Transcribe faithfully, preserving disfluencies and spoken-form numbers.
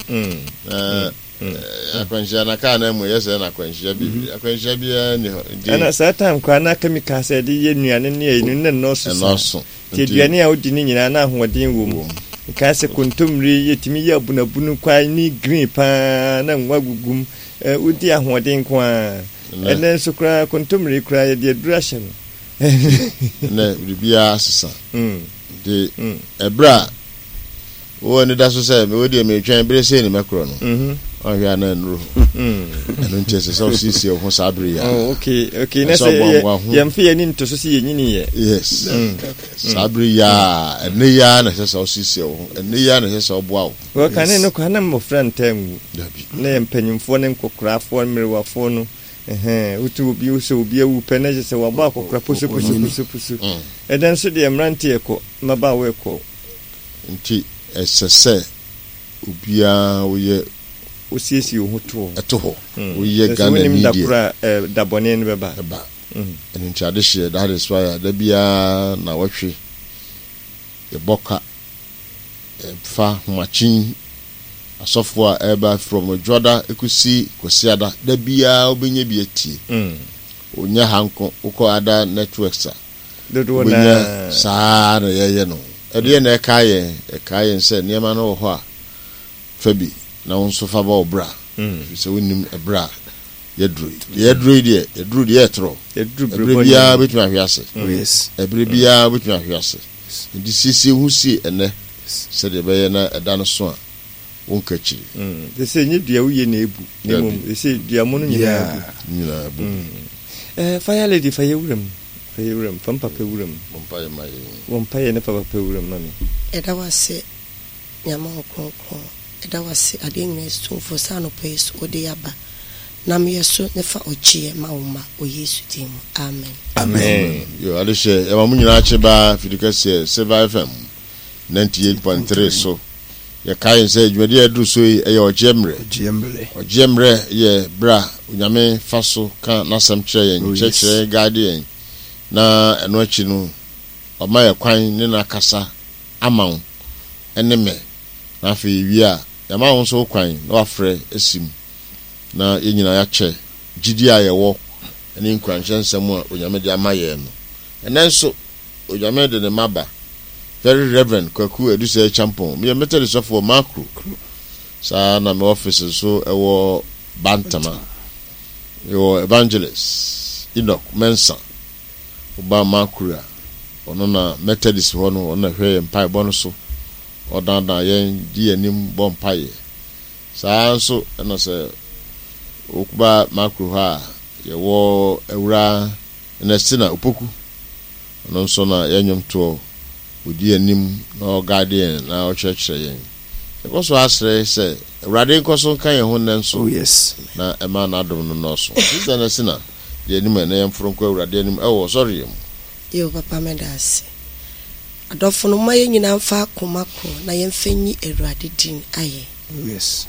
Mm. Na eh, akwanhyia na kaa na mu yɛ sɛ na akwanhyia bebree, akwanhyia biara ni hɔ. Nti Ɛna saa time koraa na chemical sɛ yɛde yɛ nnuane ne ɛyi no na nnɔɔso saa. Ɛnɔɔso. Nti aduane a wodi ne nyinaa na ahoɔden wɔ mu. Nkaa sɛ kontommire, yɛtumi yɛ abunabunu kwae ne green paa na nwa gugum. Eh, wodi ahoɔden nko ara. Ɛnɛ- Ɛnɛ nso koraa kontommire koraa yɛde aduru ahyɛ no. Ɛnɛ biribiara sesa. Mm. Nti ɛberɛ a wowɔ ani da so sɛ mewɔ deɛ meretwɛn bere sei ne mɛkorɔ no, Mhm. ɔhwɛ a na nnuro hɔ. Ɛno nti ɛsɛ sɛ wosiesie wo ho saa bere yi a. Oh, okay okay na Ɛsɛ sɛ ɔboaboa yɛ- ho. yɛmfa yɛn ani nto so sɛ yɛnyini yɛ. Yes, saa bere yi a, ɛnɛ yi a na ɛsɛ sɛ wosiesie wo ho, ɛnɛ yi a na ɛsɛ sɛ ɔboa wo. Wɔkane no koraa na mmɔfra ntaa nwu. Dabi. Na yɛ mpanyimfoɔ ne nkɔkorafoɔ, mmerewafoɔ no. Ɛhɛn, wotu obi sɛ obi awu pɛ na kyerɛ sɛ wabɔ akɔkora posoposoposoposo. Ɛdɛ nso deɛ, mmeranteɛ kɔ, mmabaawa kɔ. Nti ɛsɛ sɛ obiara woyɛ wosiesie wo ho to hɔ. Ɛto hɔ. Mm. Woyɛ Sɛ Ghana wonim ni da deɛ koro a eh, da bɔne no bɛba. Ɛba. Ɛno nti adehyeɛ, that is why a da biara na wɔtwe yɛbɔ ka ɛfa homakyen asɔfoɔ a ɛba from Dwoada ɛkɔsi Kwasiada, da biara wobɛnya bi atie. Mm. Onyɛ ha nko, wokɔ other networks a dodoɔ wobɛnya naa. Saa na yɛyɛ no. Ɛdeɛ na ɛka yɛn ɛka yɛn sɛ nneɛma no wɔ hɔ a, fa bi na wo nso fa bɔ wo bra, Mm. ɛfiri sɛ wonim ɛberɛ a yɛduru yi. Deɛ yɛduru yi deɛ, yɛduru deɛ yɛtorɔ. Yɛduru ɛberɛ bere biara bɔne. wobɛtumi ahwe ase. Oh, yes. Ɛberɛ biara wobɛtumi ahwe ase, nti siesie ho sie ɛnɛ sɛdeɛ ɛbɛyɛ na ɛda no so a wonka akyiri. Mm. Te sɛ nyɛ dua woyɛ na ebu na Dabi. mmom te sɛ dua mo no nyinaa bu. Nyinaa bu. Eh, fire lady, fa yɛ wuram, fa yɛ wuram, fa mpapa wuram. Mompa yɛ ma yɛn. Wɔ mpa yɛ ne fa papa wuram ma me. Ɛda wase, Nyame wo kronkron. Ɛda wase, adeɛ nyinaa somfo, sɛ anɔpa yi so wode yɛaba nam yɛ so ne fa ɔgyeɛ ma wo ma wɔ Yesu din mu, amen. Amen. Yo, adehyɛ, yɛma mo nyinaa kye baa fidi kɛseɛ Silver F M ninety-eight point three so. Yɛkae yɛn sɛ dwumadi a ɛduru so yi ɛyɛ Ɔgyeɛ Mmerɛ. Ɔgyeɛ Mmerɛ. Ɔgyeɛ Mmerɛ yɛ berɛ a Onyame fa so ka n'asɛm kyerɛ yɛn, Oh, yes. kyerɛkyerɛ yɛn, guide yɛn, na ɛno akyi no ɔma yɛ kwan ne n'akasa ama wo ɛne me. Na afei wie a, yɛama wo nso wo kwan na wafrɛ asi mu na yɛn nyinaa yɛakyɛ gyidi a yɛwɔ ne nkuranhyɛ nsɛm a Onyame de ama yɛn no. Ɛnɛ nso Onyame de ne mma ba, Very Reverend Kwaku Adusɛ Champon. Meyɛ Methodist sɔfoɔ Makro saa na me office nso ɛwɔ Bantama. Yɛwɔ Evangelist Enoch Mensa. Woba Makro a, ɔno na Methodist hɔ no, ɔno na hwɛ yɛn mpaebɔ no so, ɔdandan yɛn di yɛn anim bɔ mpaeɛ saa nso. Ɛna sɛ woba Makro hɔ a, yɛwɔ Awura Ernestina Opoku. Ɔno nso na yɛn nnwomtoɔ ɔdi anim na ɔguide yɛn na ɔkyerɛkyerɛ yɛn. Yɛkɔ so asrɛ sɛ Awurade nkɔ so nka yɛn ho nnɛ nso. Oh, yes. Na ɛma n'adom no nnɔɔso. Sister Ernestina deɛ anim a, na yɛmforo nkɔ Awurade anim ɛwɔ ɔsɔreɛ mu. Yo, papa, meda ase. Adɔfo no, ma yɛn nyinaa mfa akoma korɔ na yɛmfa nyi Awurade din ayɛ. Oh, yes.